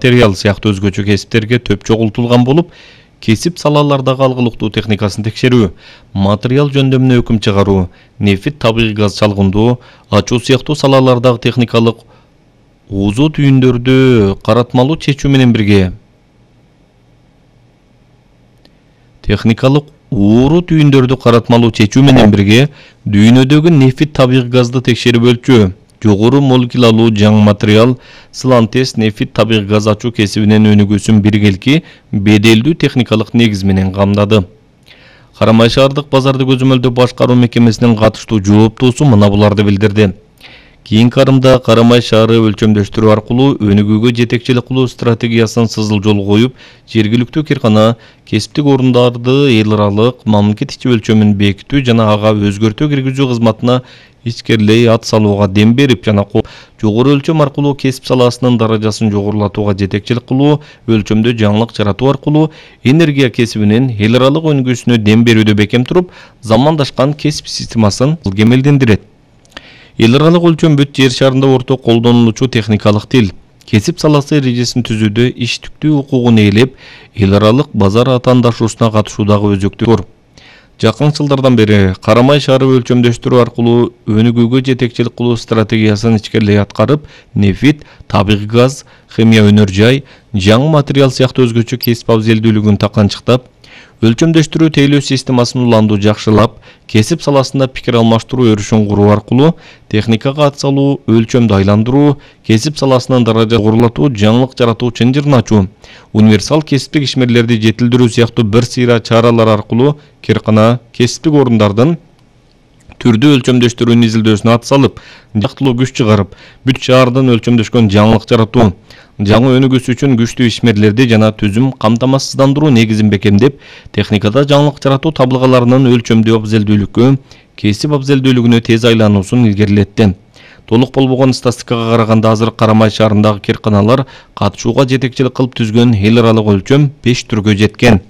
материал сыяктуу өзгөчө кесиптерге төп чогултулган болуп, кесип салалардагы алгылыктуу техникасын текшерүү, материал жөндөмүнө өкүм чыгаруу, нефит, табигый газ чалгындоо, ачуу сыяктуу салалардагы техникалык уузу түйүндөрдү каратмалуу чечүү менен бирге дүйнөдөгү нефит, табигый газды текшерип өлчөө, жогору молекулалуу жаңы материал, сылан-тест, нефит, табигый газ ачуу кесибинин өнүгүүсүн биргелки беделдүү техникалык негиз менен камдады. Карамай шаардык базарды көзөмөлдөө башкаруу мекемесинин катыштуу жооптуусу мына буларды билдирди. Кийинки арымда Карамай шаары өлчөмдөштүрүү аркылуу өнүгүүгө жетекчилик кылуу стратегиясын сызыл жол коюп, жергиликтүү киркана кесиптик орундарды эл аралык мамлекет ичи өлчөмүн бекитүү жана ага өзгөртүү киргизүү кызматына ичкерлей ат салууга дем берип жана жогору өлчөм аркылуу кесип саласынын даражасын жогорулатууга жетекчилик кылуу, өлчөмдө жаңылык жаратуу аркылуу энергия кесибинин эл аралык өнүгүүсүнө дем берүүдө бекем туруп, замандашкан кесип системасын кемелдендирет. Эл аралык өлчөм бүт жер шарында орток колдонулуучу техникалык тил. Кесип саласы эрежесин түзүүдө иштиктүү укугун ээлеп, эл аралык базар атаандашуусуна катышуудагы өзөктүк. Жакын жылдардан бери Карамай шаары өлчөмдөштүрүү аркылуу өнүгүүгө жетекчилик кылуу стратегиясын ичкерлей аткарып, нефит, табигый газ, химия өнөр жай, жаңы материал сыяктуу өзгөчө кесип абзелдүүлүгүн таканчыктап, өлчөмдөштүрүү тейлөө системасын уланду жакшылап, кесип саласында пикир алмаштыруу өрүшүн куруу аркылуу техникага ат салуу, өлчөмдү айландыруу, кесип саласынын даражасын жогорулатуу, жаңылык жаратуу чынжырын ачуу, универсал кесиптик ишмерлерди жетилдирүү сыяктуу бир сыйра чаралар аркылуу киркана кесиптик орундардын түрдүү өлчөмдөштүрүүнүн изилдөөсүнө ат салып, жактылуу күч чыгарып, бүт шаардын өлчөмдөшкөн жаңылык жаратуу, жаңы өнүгүүсү үчүн күчтүү ишмерлерди жана түзүм камтамасыздандыруу негизин бекемдеп, техникада жаңылык жаратуу табылгаларынын өлчөмдүү абзелдүүлүккө, кесип абзелдүүлүгүнө тез айлануусун илгерилетти. Толук болбогон статистикага караганда азыр Карамай шаарындагы кирканалар катышууга жетекчилик кылып түзгөн эл аралык өлчөм 5 түргө жеткен.